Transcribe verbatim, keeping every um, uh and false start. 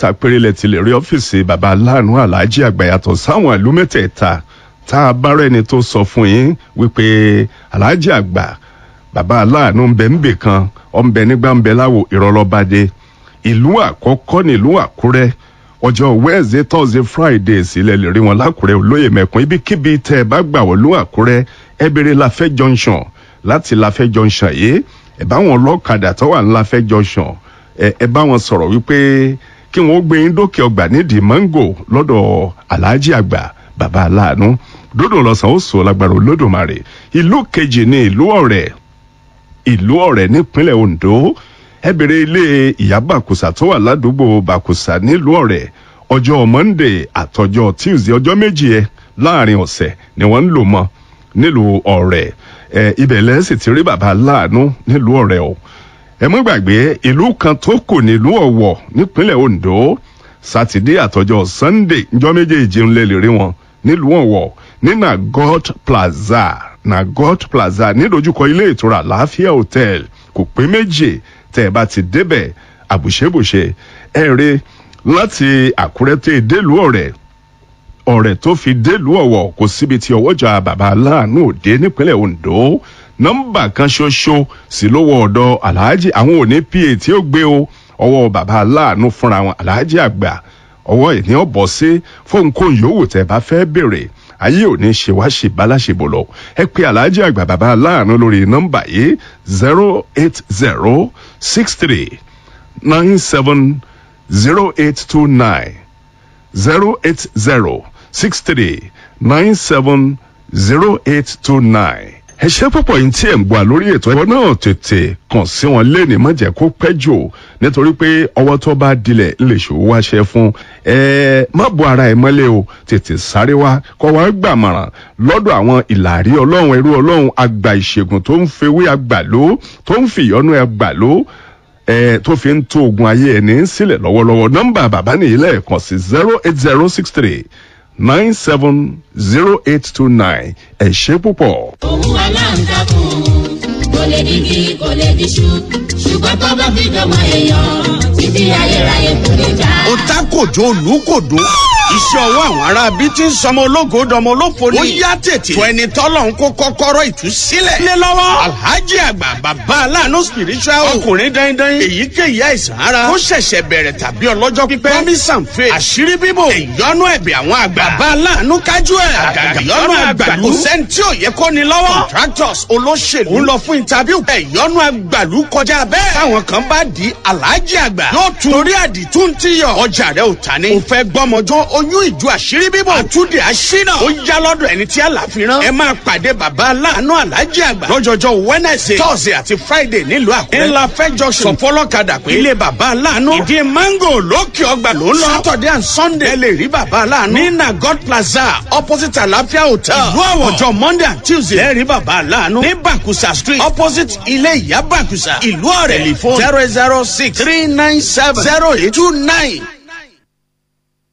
Mẹ́ta péré lẹ ti lè rí ọ́fíìsì bàbá aláàánú Aláàjì Àgbà yàtọ̀ sáwọn ìlú mẹ́tẹ̀ẹ̀ta tá a bá rẹ́ni tó sọ fún yín wípé Aláàjì Àgbà bàbá aláàánú ń bẹ ń bè kan, ọ̀ ń bẹ nígbà ń bẹ láwo ìrọ̀lọ́badé. Ìlú àkọ́kọ́ nílùú Àkúrẹ́. Ọjọ́ Wednesday, Thursday, Friday sílẹ̀ lè rí wọn lákùrẹ́ Olóyè Mẹ́kún. Ibikíbi tẹ́ ẹ bá gbà wọ́n lú Àkúrẹ́, ẹ bèrè Láfẹ́ Junction. Láti Láfẹ́ Junction yìí, ẹ bá wọn lọ́kadà tó wà ní Láfẹ́ Junction, ẹ ẹ bá wọn sọ̀rọ̀ wípé kí wọ́n gbé yín dókè ọgbà nídìí mango lọ́dọ̀ Aláàjì Àgbà bàbá aláàánú. Dódò lọ́sàn ó sọ lágbára Olódùmarè. Ìlú kejì ní ìlú Ọ̀rẹ́. Ìlú Ọ̀rẹ́ nípínlẹ̀ Ondo, ẹ bèrè ilé ìyá Bàkùsà tó wà ládùúgbò Bàkùsà nílùú Ọ̀rẹ́. Ọjọ́ Monday àtọjọ́ Tuesday, ọjọ́ méjì ẹ láàrin ọ̀sẹ̀ ni wọ́n ń lò mọ́ nílùú Ọ̀rẹ́. Ẹ ibẹ̀ lẹ́sìn ti rí bàbá aláàánú nílùú Ọ̀rẹ́ o. Ẹ mọ́ gbàgbé ìlú kan tó kù nílùú Ọ̀wọ̀ nípínlẹ̀ Ondo. Sátidé àtọjọ́ Sunday, njọ́ méjèèjì ń lè lè rí wọn nílùú Ọ̀wọ̀ ní Nagot Plaza. Nagot Plaza nídojúkọ ilé ìtura Àlàáfíà Hotel, kò pé méjì tẹ́ ẹ bá ti débẹ̀ àbùṣebùṣe. Ẹ rí láti Àkúrẹ́ tó délùú Ọ̀rẹ́, Ọ̀rẹ́ tó fi délùú Ọ̀wọ̀, kò síbi tí ọwọ́jà bàbá aláàánú òde nípínlẹ̀ Ondo. Nọ́mbà kan ṣoṣo sì lówó ọ̀dọ̀ Aláàjì. Àwọn òní pa tí ó gbé o, ọwọ́ bàbá aláàánú fúnra wọn, Aláàjì Àgbà, ọwọ́ ìní ọ̀bọ̀ sí fóun kóun yòówù tẹ́ bá fẹ́ béèrè. Ayé ò ní ṣe wá ṣe báláṣebò lọ. Ẹ pé Aláàjì Àgbà bàbá aláàánú lórí nọ́mbà yìí: zero eight zero six three nine seven zero eight two nine, zero eight zero six three nine seven zero eight two nine. Ẹ ṣe púpọ̀ yín tí ẹ̀ ń gbà lórí ètò ẹ̀kọ́ náà. Tètè kàn sí wọn lẹ́ni, má jẹ́ kó pẹ́ jù, nítorí pé ọwọ́ tó bá dilẹ̀ lè ṣòwò wáṣẹ fún ẹ. Má bo ara ẹ mọ́lẹ̀ o, tètè sáré wá kọ́ wá gbàmọ̀ràn lọ́dọ̀ àwọn ìlàrí Ọlọ́run, ẹrú Ọlọ́run àgbà ìṣègùn tó ń fewé àgbàló, tó ń fìyọ́nú àgbàló ẹ, tó fi ń tó ogun ayé ẹni sílẹ̀ lọ́wọ́lọ́wọ́. Nọ́mbà bàbá nìyí lẹ́ẹ̀kan sí: zero eight zero six three nine seven zero eight two nine. Ẹ ṣé púpọ̀. Òun aláǹtakùn kò lè digi, kò lè diṣu, ṣùgbọ́n tó bá fi dọ́mọ èèyàn, títí ayérayé kò lè já. Ó ta kòjó olùkòdó, iṣẹ́ ọwọ́ àwọn ará bí tí ń sọmọ ológo dọmọ olófo ni. Ó yá, tètè tó ẹni tọ́lọ̀ ń kó kọ́kọ́rọ́ ìtúsílẹ̀. Lé lọ́wọ́ Alhaji Àgbà bàbá aláàánú spiritual, ọkùnrin dandan. Èyíkéyìí àìsàn ara ó ṣẹ̀ṣẹ̀ bẹ̀rẹ̀ tàbí ọlọ́jọ́ pípẹ́, promise and faith, àṣírí bíbò, ìyọnu ẹ̀bẹ̀ àwọn àgbà, bàbá aláàánú kájú ẹ̀, àgàgà ìyọnu àgbàlú, kò sẹ́ni tí ò yẹ kó ni lọ́wọ́. Contractors, olóṣèlú ń lọ fún interview, ìyọnu àgbàlú kọjá bẹ́ẹ̀. Táwọn kan bá di Alhaji Àgbà yóò tún torí àdìtú ń tíyọ̀. Ọjà rẹ ò ta ni, ò fẹ́ gbọ́mọjọ́, oyún ìjọ, àṣírí bíbò, àtúndì àṣínà, ó yá lọ́dọ̀ ẹni tí àlàfi rán. Ẹ máa pàdé bàbá aláàánú Aláàjì Àgbà lọ́jọ́jọ́ Wednesday, Thursday àti Friday nílùú Àkúrẹ́, ńlá fẹ́ junction. Sọfọlọ́kadà pé ilé bàbá aláàánú, ìdí mango, lókè ọgbà ló ń lọ. Saturday and Sunday, ẹ lè rí bàbá aláàánú ní Nagot Plaza, opposite Àlàáfíà Hotel, ìlú Ọ̀wọ̀. Ọjọ́ Monday and Tuesday, ẹ rí bàbá aláàánú ní Bàkúsà Street, opposite ilé ìyá Bàkúsà, ìlú Ọ̀rẹ́. Telephone zero zero six three nine seven zero eight two nine.